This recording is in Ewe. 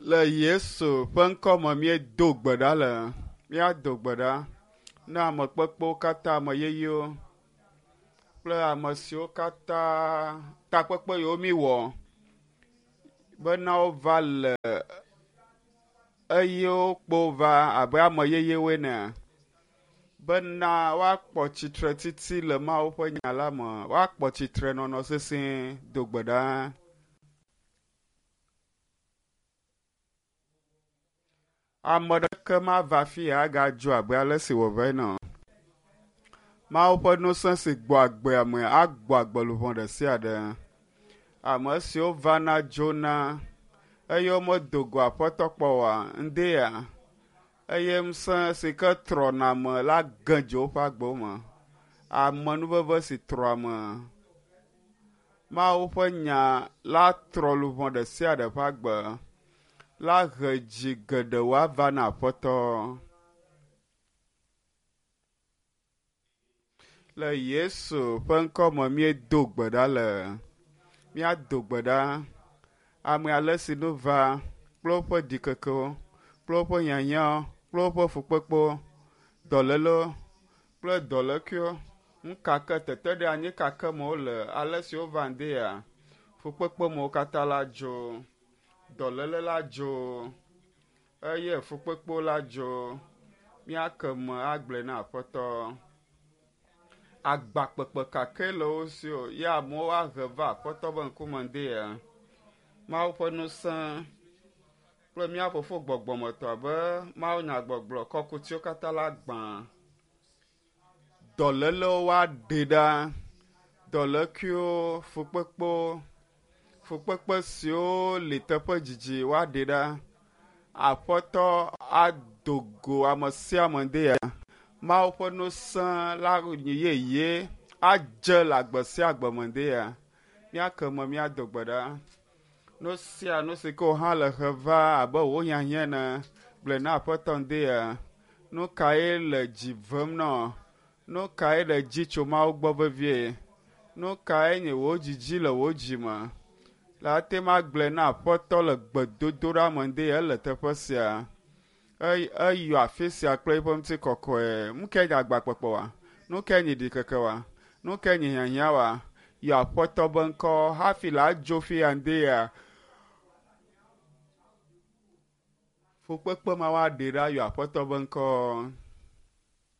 Le Yesu ƒe ŋkɔ me míedo gbe ɖa le. Míado gbe ɖa na ame kpekpewo katã, ame yeyewo kple ame siwo katã takpekpe yiwo míwɔ bena wova le eye wokpo va abe ame yeyewoe ene bena woakpɔ tsitretiti le Mawu ƒe nya la me, woakpɔ tsitrenɔnɔ sesĩe. Do gbe ɖa. Ame ɖeke mava afi ya agadzo abe ale si wòva ene o. Mawu ƒe ŋusẽ si gbɔ agbe ame agbɔ agbe luʋɔ ɖe sia ɖe. Ame siwo vana dzona eye womedo go Aƒetɔ kpɔ oa, ŋdea eye ŋusẽ si ke trɔna ame la ge dze woƒe agbewo me. Amenuveve si trɔ ame. Mawu ƒe nya la trɔ luʋɔ ɖe sia ɖe ƒe agbe la he dzi geɖewo ava na Aƒetɔ. Le Yesu ƒe ŋkɔ me míedo gbe ɖa le. Míado gbe ɖa. Ame ale si nu va kple woƒe ɖikekewo, kple woƒe hiahiãwo, kple woƒe fukpekpewo, dɔlélewo kple dɔlékuiwo, nukake teteɖeanyi kake me wole, ale si wova ŋdea, fukpekpe mewo katã la dzo, dɔléle la dzo eye fukpekpewo la dzo. Míake me agblɔe na Aƒetɔ. Agba kpekpe kake le wo si o ye amewo ahe va Aƒetɔ ƒe ŋkume ŋdea. Mawu ƒe ŋusẽ kple mía Fofo gbɔgbɔmetɔ abe Mawu nyagbɔgblɔ kɔkutiwo katã la gbã. Dɔlélewo woaɖe ɖa, dɔlékuiwo, fukpekpewo, fukpekpe siwo li teƒe dzidzi woaɖe ɖa. Aƒetɔ ado go ame sia ame ŋdea. Mawu ƒe ŋusẽ la nyi yeye adze le agbe sia agbe me ŋdea. Míake me míado gbe ɖa. Nu sia nu si ke wò hã le he va abe wò hiahiã ene gblɔe na Aƒetɔ ŋdea. Nu kae le dzi vem nɔ? Nu kae le dzi tso Mawu gbɔ vevie? Nu kae nye wò dzidzi le wò dzi me? Le ate ŋu agblɔe na Aƒetɔ le gbedodoɖa me ŋdea ele teƒe sia. Eyɔ afi sia kple eƒe ŋutikɔkɔe. Nu kae nye agba kpekpe wa? Nu kae nye ɖikeke wa? Nu kae nye hiahiã wa? Yɔ Aƒetɔ be ŋkɔ hafi la dzo fi ya ŋdea. Fukpekpe ma woaɖe ɖa yɔ Aƒetɔ be ŋkɔ.